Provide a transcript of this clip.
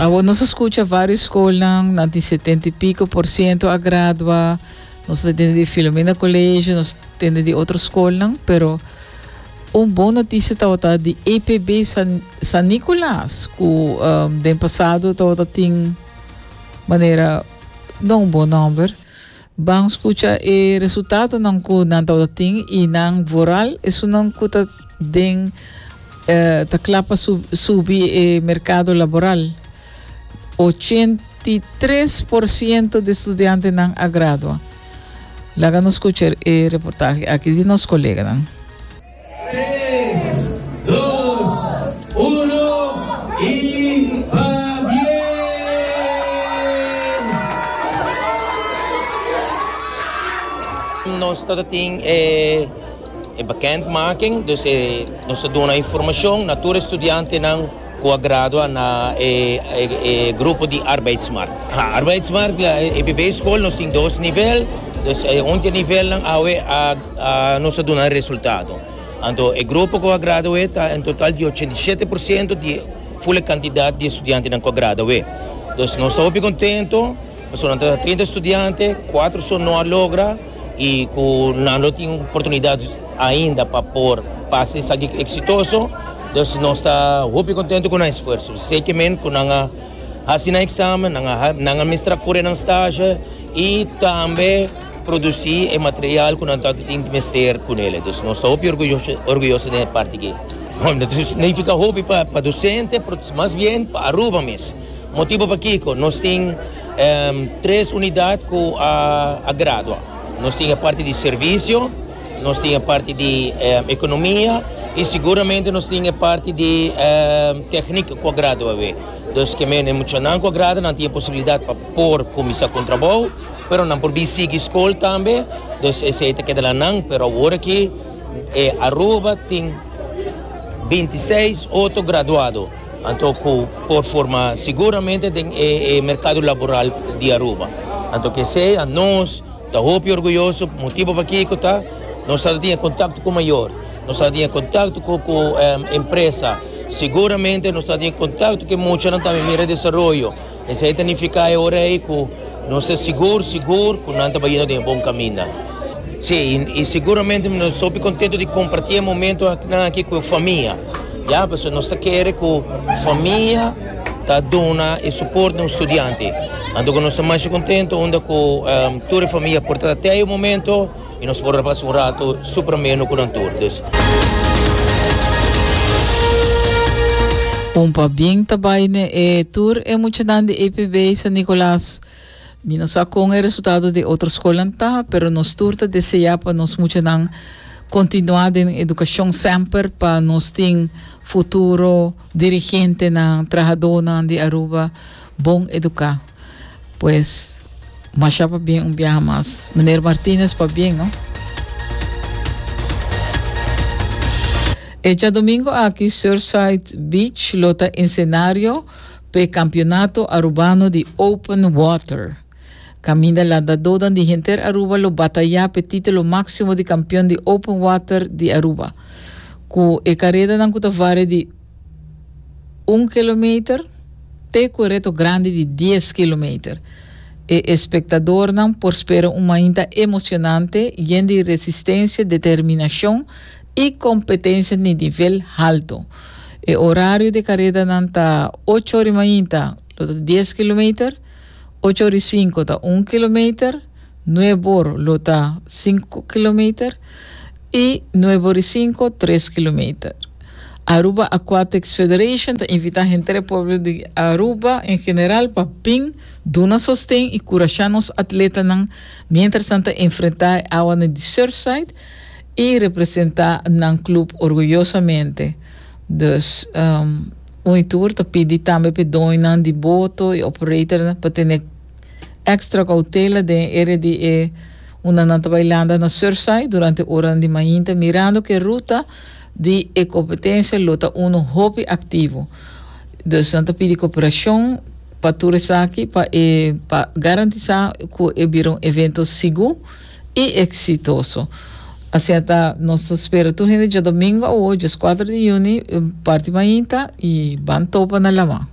Awor nos a scucha varios scolnan, nan tin 70 y pico por ciento a gradua, nos ta tende di Filomena Colegio, nos ta tende di otro scolnan, pero un bon noticia tabata di EPB San, San Nicolas, cu um, den pasado tabata tin manera no un bon nomber. Ban scucha e resultatonan cu nan tabata tin y nan vooral esunnan cu ta den eh, ta cla pa subi e mercado laboral. 83% di studiantenan a gradua. Laga nos scucha e reportahe aki di nos coleganan. Tres, dos, uno y pabien! Nos ta tin e bekendmaking, dus e nos ta duna informacion na tur e studiantenan cu a gradua na e e grupo di arbeidsmarkt. Arbeidsmarkt, EPB school nos tin dos nivel, dus e un di e nivelnan awe a nos a duna e resultado. Anto e grupo cu a gradua ta en total di 87% di ful e cantidad di estudiantenan cu a gradua. Dus nos ta hopi contento pasobra nan ta 30 estudiante, cuatro so no a logra y cu nan lo tin oportunidad ainda pa por pasa esaki exitoso. Dus nos ta hopi contento cu nan esfuerzo. Zeker cu nan a haci nan examen, nan a nan a mester a core nan stage y tambe produci e material cu nan ta tin mester cu nele. Dus nos ta hopi orguyoso orguyoso den e parti aki. Bueno, ta significa hopi pa pa docente, pero mas bien pa Aruba mes. Motibo pakico? Nos tin tres unidad cu a a gradua. Nos tin e parti di servicio, nos tin e parti di economia y siguramente nos tin e parti di techniek cu a gradua awe. Dus ke men e muchanan cu a gradua nan tin e posibilidad pa por cuminsa cu un trabou, pero nan por bin sigui scol tambe, dus esey ta keda la nan, pero awor aki e Aruba tin 26 otro graduado anto cu por forma siguramente den e mercado laboral di Aruba. Anto ke esey a nos ta hopi orguyoso, motibo pakico ta nos ta tin e contacto cu mayor, nos ta tin e contacto cu cu empresa, siguramente nos ta tin e contacto cu e muchanan tambe mira e desaroyo. Esei ta nifiká e ora ei ku nos ta sigur sigur ku nan ta bayendo den e bon kaminda. Sí, i siguramente nos hopi kontentu di kompartí e momentonan aki ku e famia, ya, pasobra nos ta kere ku famia ta duna e suport na un studiante. Anto ku nos ta masha kontentu unda ku tur e famia por ta te e momento. Y nos por a pasa un rato super ameno cu nan tur. Dus. Un pabien ta bai ne e tur e muchanan di EPB San Nicolas. Mi no sa con e resultado di otro scolnan ta, pero nos tur ta desea pa nos muchanan continua den educacion semper pa nos tin futuro dirigentenan, trahadonan di Aruba bon educa. Pues, masha pabien un biaha mas. Meneer Martinez pabien, no? E djadomingo aki Surfside Beach lo ta ensenario p'e Campeonato Arubano di Open Water. Caminda landadonan di henter Aruba lo bataya p'e titulo maximo di campeon di Open Water di Aruba. Cu e caredanan cu ta varia di un kilometer te cu e reto grandi di dies kilometer. E espectadornan por spera un mainta emocionante yen di resistencia, determinacion y competencia di nivel halto. E horario di e caredanan ta ocho ora y mainta lo ta dies kilometer, ocho ora y cinco ta un kilometer, nuebe or lo ta cinco kilometer y nuebe ora y cinco tres kilometer. Aruba Aquatics Federation ta invita henter e pueblo di Aruba en general pa bin duna sosten y curasha nos atletanan mientras nan ta enfrenta e awanan di Surfside y representa nan club orguyosamente. Dus um, un y tur ta pidi tambe p'e doñonan di boto y operatornan pa tene Extra cautela den e area di e unda nan ta bai landa na Surfside durante oranan di mainta mirando cu e ruta di e competencia lo ta uno hopi activo. Dus nan ta pidi cooperacion pa tur esaki pa e pa garantisa cu e bira un evento sigur y exitoso. Asina ta nos ta spera tur hende djadomingo awo, djescuatro di juni, parti mainta y ban topa na lama.